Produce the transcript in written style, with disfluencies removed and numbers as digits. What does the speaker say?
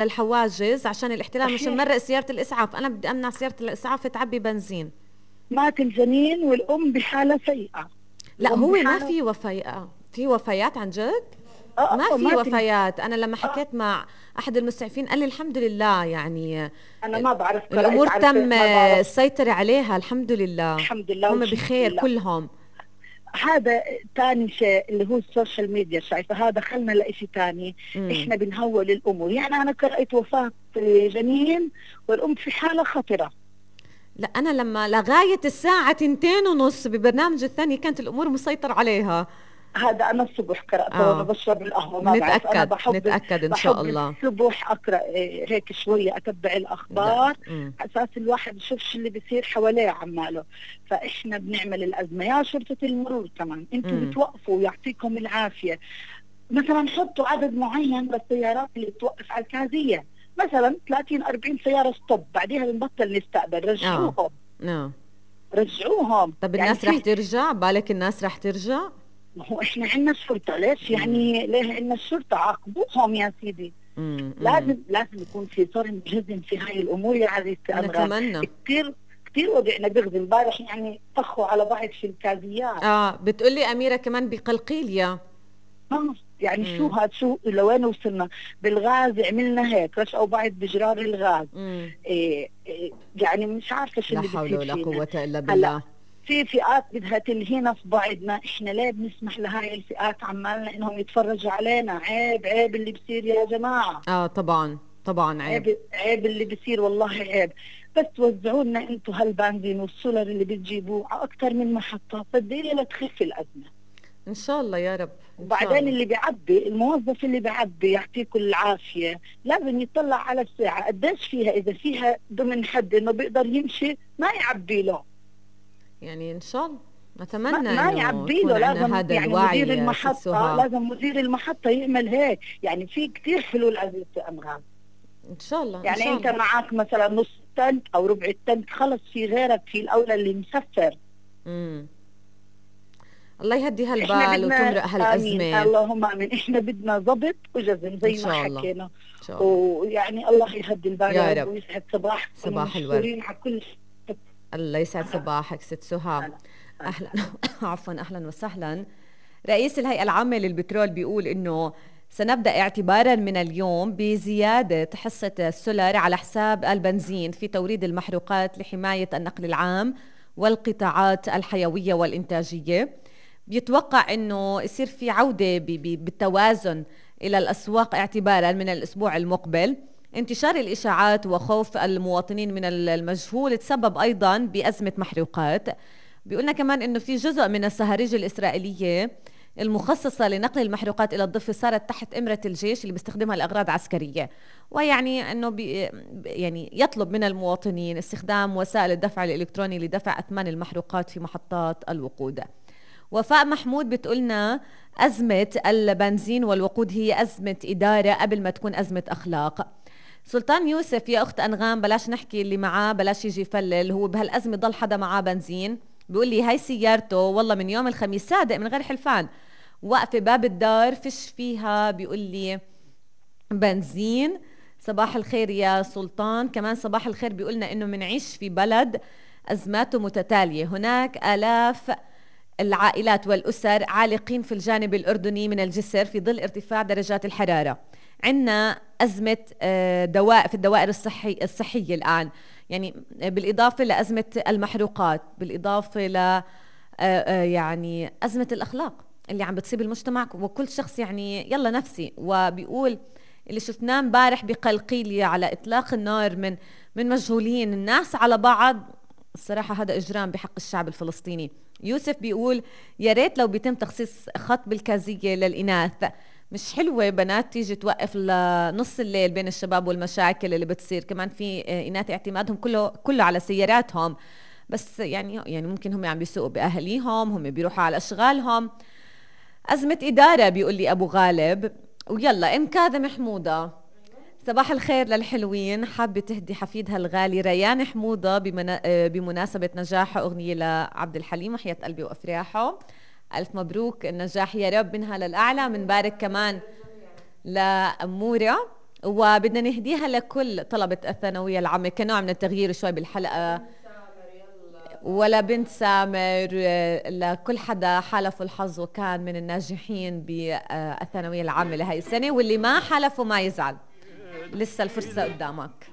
الحواجز عشان الاحتلال، مش صحيح. نمرق سيارة الإسعاف. أنا بدي أمنع سيارة الإسعاف تعبي بنزين. مات الجنين والأم بحالة سيئة. لا الأم هو ما بحالة في وفيات، في وفيات عن جد. ما في مات وفيات. أنا لما حكيت مع أحد المسعفين قال لي الحمد لله، يعني أنا ما بعرف قرأت، الأمور تم عرفت ما بعرف. السيطرة عليها الحمد لله. الحمد لله هم والشكر بخير لله. كلهم. هذا تاني شيء اللي هو السوشيال ميديا، شايفة هذا خلنا لإشي تاني. إحنا بنهول الأمور. يعني أنا قرأت وفاة جنين والأم في حالة خطرة. لا أنا لما لغاية الساعة 2:30 ببرنامج الثاني كانت الأمور مسيطر عليها. هذا أنا الصبح قرأته وأنا بشرب القهوة. ما بعرف، أنا نتأكد إن شاء الله. الصبح أقرأ هيك شوية، أتبع الأخبار أساس الواحد يشوف شو اللي بيصير حواليه عماله. فإحنا بنعمل الأزمة. يا شرطة المرور كمان أنتوا بتوقفوا، يعطيكم العافية. مثلا حطوا عدد معين للسيارات اللي بتوقف على الكازية، مثلا 30-40 سيارة ستوب، بعديها بنبطل نستقبل. رجعوهم. رجعوهم. طب يعني الناس رح ترجع؟ بالك الناس رح ترجع؟ ما هو احنا عندنا الشرطة، ليش يعني ليه عندنا الشرطة؟ عاقبوهم يا سيدي. لازم يكون في صرم جزم في هاي الامور يا عزيزتي أمران. نتمنى. كثير وجعنا بغض امبارح، يعني طخوا على بعض في الكازيات. بتقولي أميرة كمان بقلقيلية. يعني شو لوين وصلنا؟ بالغاز عملنا هيك، رشقوا بعض بجرار الغاز. يعني مش عارفة شو اللي بيصير فينا. لا حول ولا قوة إلا بالله. في فئات بدها تلهينا في بعضنا. احنا ليه بنسمح لهاي الفئات عمالنا انهم يتفرجوا علينا؟ عيب اللي بصير يا جماعة. طبعا عيب اللي بصير، والله عيب. بس توزعوا لنا انتم هالبنزين والسولر اللي بتجيبوه على اكثر من محطة، صدقيني لتخف الازمة ان شاء الله يا رب. وبعدين اللي بيعبي، الموظف اللي بيعبي يعطيكم العافية، لازم يطلع على الساعة قديش فيها. اذا فيها ضمن حد انه بيقدر يمشي ما يعبي له. يعني ان شاء الله نتمنى ما يعبي له. لازم هذا يعني الوعي مدير المحطة، لازم مدير المحطة يعمل هيك. يعني في كتير حلول عزيزتي أمغان. ان شاء الله. يعني إن شاء انت الله. معك مثلا نص تنك او ربع التنك، خلص في غيرك، في الاولى اللي مسفر. الله يهدي هالبال وتمرق هالازمه. اللهم امين. احنا بدنا ضبط وجزم زي ما حكينا. ويعني الله يهدي البال يا رب ويسعد صباحكم. صباح الورد. على كل الله يسعد صباحك ست سهى. اهلا عفوا اهلا وسهلا. رئيس الهيئه العامه للبترول بيقول انه سنبدأ اعتبارا من اليوم بزيادة حصة السولر على حساب البنزين في توريد المحروقات لحماية النقل العام والقطاعات الحيوية والإنتاجية. بيتوقع أنه يصير في عودة بالتوازن إلى الأسواق اعتبارا من الأسبوع المقبل. انتشار الإشاعات وخوف المواطنين من المجهول تسبب أيضا بأزمة محروقات. بيقولنا كمان أنه في جزء من الصهاريج الإسرائيلية المخصصة لنقل المحروقات إلى الضفة صارت تحت إمرة الجيش اللي بيستخدمها لأغراض عسكرية، ويعني أنه يعني يطلب من المواطنين استخدام وسائل الدفع الإلكتروني لدفع أثمان المحروقات في محطات الوقود. وفاء محمود بتقولنا أزمة البنزين والوقود هي أزمة إدارة قبل ما تكون أزمة أخلاق. سلطان يوسف يا أخت أنغام بلاش نحكي اللي معاه، بلاش يجي يفلل، هو بهالأزمة ضل حدا معاه بنزين. بيقول لي هاي سيارته والله من يوم الخميس صادق من غير حلفان، واقفة باب الدار فيش فيها بيقول لي بنزين. صباح الخير يا سلطان. كمان صباح الخير بيقولنا انه منعيش في بلد ازماته متتالية، هناك آلاف العائلات والأسر عالقين في الجانب الأردني من الجسر في ظل ارتفاع درجات الحرارة. عندنا أزمة دواء في الدوائر الصحية الآن، يعني بالإضافة لأزمة المحروقات، بالإضافة ل يعني أزمة الأخلاق اللي عم بتصيب المجتمع وكل شخص يعني يلا نفسي. وبيقول اللي شفناه امبارح بقلقيلية على إطلاق النار من مجهولين الناس على بعض، الصراحة هذا إجرام بحق الشعب الفلسطيني. يوسف بيقول يا ريت لو بيتم تخصيص خط بالكازية للإناث، مش حلوة بنات تيجي توقف لنص الليل بين الشباب والمشاكل اللي بتصير. كمان في إناث اعتمادهم كله على سياراتهم، بس يعني ممكن هم عم بيسوقوا بأهليهم، هم بيروحوا على أشغالهم. أزمة إدارة بيقول لي أبو غالب. ويلا أم كاظم حمودة صباح الخير للحلوين، حابة تهدي حفيدها الغالي ريان حمودة بمناسبة نجاح أغنية لعبد الحليم وحياة قلبي وأفراحه. ألف مبروك النجاح يا رب منها للأعلى. منبارك كمان لأمورة وبدنا نهديها لكل طلبة الثانوية العامة كنوع من التغيير شوي بالحلقة، ولا بنت سامر، لكل حدا حالفوا الحظ وكان من الناجحين بالثانوية العامة لهي السنة، واللي ما حالفوا ما يزعل، لسه الفرصة قدامك.